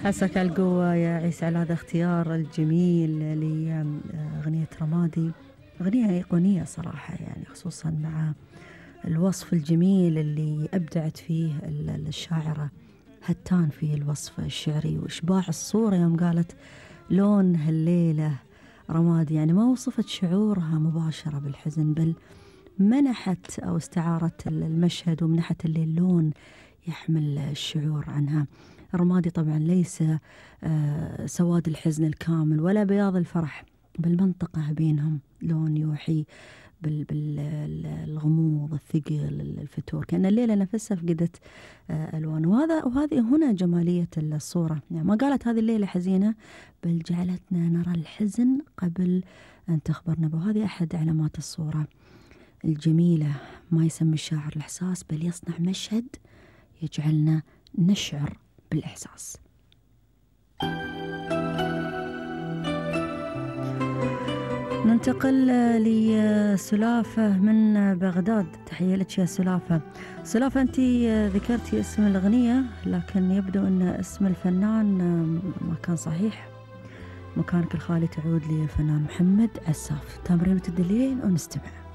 عساك على القوة يا عيسى على هذا الاختيار الجميل لأغنية رمادي. أغنية أيقونية صراحة، يعني خصوصا مع الوصف الجميل اللي أبدعت فيه الشاعرة هتان في الوصف الشعري وإشباع الصورة يوم قالت لون هالليلة رمادي. يعني ما وصفت شعورها مباشرة بالحزن، بل منحت أو استعارت المشهد ومنحت الليل لون يحمل الشعور عنها. الرمادي طبعا ليس سواد الحزن الكامل ولا بياض الفرح، بل منطقة بينهم، لون يوحي بالغموض، الثقل، الفتور، كأن الليلة نفسها فقدت ألوان. وهذه هنا جمالية الصورة، يعني ما قالت هذه الليلة حزينة، بل جعلتنا نرى الحزن قبل أن تخبرنا به. وهذه أحد علامات الصورة الجميلة، ما يسمي الشاعر الإحساس، بل يصنع مشهد يجعلنا نشعر بالإحساس. ننتقل لسلافة من بغداد. تحية لك يا سلافة. سلافة، أنت ذكرتي اسم الأغنية لكن يبدو أن اسم الفنان ما كان صحيح. مكانك الخالي تعود للفنان محمد عساف. تمرين وتدلين ونستمع.